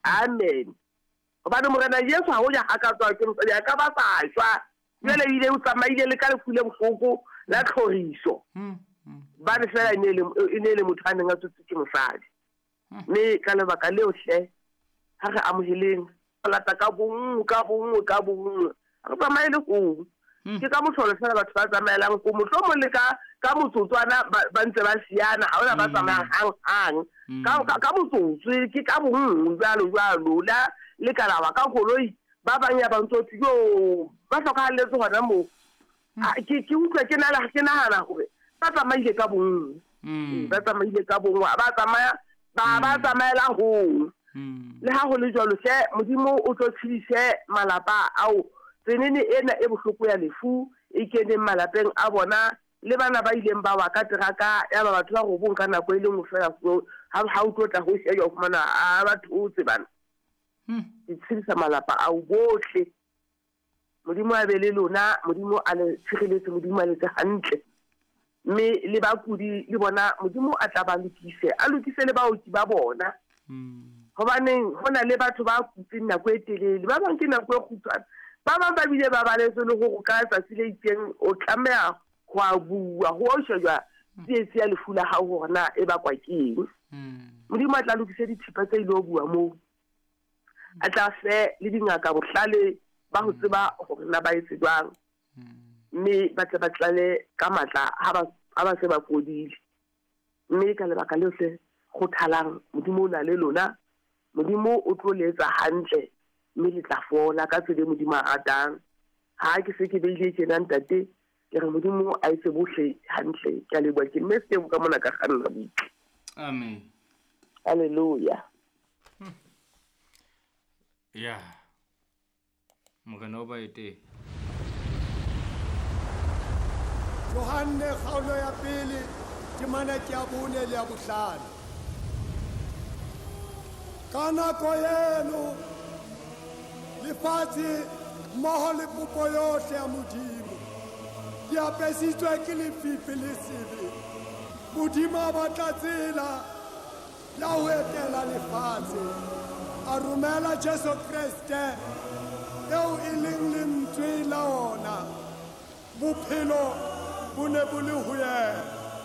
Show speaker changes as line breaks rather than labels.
Amen. Hobane Morena Jesu ha ho ja ha ka tswa ke mosadi a ka ba sa shwa. Jwale ile o tsamaile le ka lefu le bohloko la tlhoriso. Bane fela e ne e ne le motho a neng a tsotse ke mosadi. Mme ka lebaka leo hle ha re amoheleng lata ka bonngwe ka bonngwe ka bonngwe re tsamaye le hong. Ke ka mohlolo fela batho ba tsamaelang ko mohlomong le ka ka motsotswana ba ntse ba siana ha ona ba tsamayang hang hang ka motsotso ke ka bonngwe jwalo jwalo la le ka lawa ka koloi ba bang ya ba ntse yo ba hlokahalletse hona moo. Ke utlwa ke nala ke nahana hore ba tsamaile ka bonngwe, ba tsamaile ka bonngwe ba tsamaya ba ba tsamaela hong. Le ha ho le jwalo hle Modimo o tlo tshedise malapa ao tsenene ena e bohloko ya lefu e keneng malapeng a bona le bana ba ileng ba wa ka teraka ya ba batho ba robong ka nako e le nngwe fela ha o tlo tla ho shejwa o fumana a ba thotse bana. Ke tshedisa malapa ao bohle. Modimo a be le lona, Modimo a le tshireletse, Modimo a letse hantle. Mme le bakudi le bona Modimo a tla ba lokise, a lokise le baoki ba bona. Hobaneng ho na le batho ba kutseng nako e telele, ba bang ke nako e kgutshwane, ba bang ba bile ba baletswe le hore ka tsatsi le itseng o tlameha ho a bua, ho o shejwa tsietsi ya lefu la hao hore na e bakwa ke eng. Modimo a tla lokise dithipa tse ile bua moo. A tla fe le dingaka bohlale ba ho tseba hore na ba etse jwang. Mme ba tle ba tlale ka matla ha ba se ba fodile. Mme ka lebaka leo hle kgothalang, Modimo o na le lona. Modimo o tlo le etsa hantle mme le tla fola ka tsela e Modimo a ratang. Ha ke se ke beile tjena ntate, ke re Modimo a etse bohle hantle. Ke a leboha, ke mme Sebo ka mona ka kganna butle.
Amen.
Hallelujah.
Ya. Morena o ba eteng.
Johanne kgaolo ya pele temana ke ya bone le ya bohlano. Ka nako eno lefatshe mmoho le popo yohle ya Modimo di apesitswe ke lefifi le sebe. Modimo a batla tsela ya ho etela lefatshe, a romela Jesu Kreste eo e leng lentswe la ona. Bophelo bo ne bo le ho yena.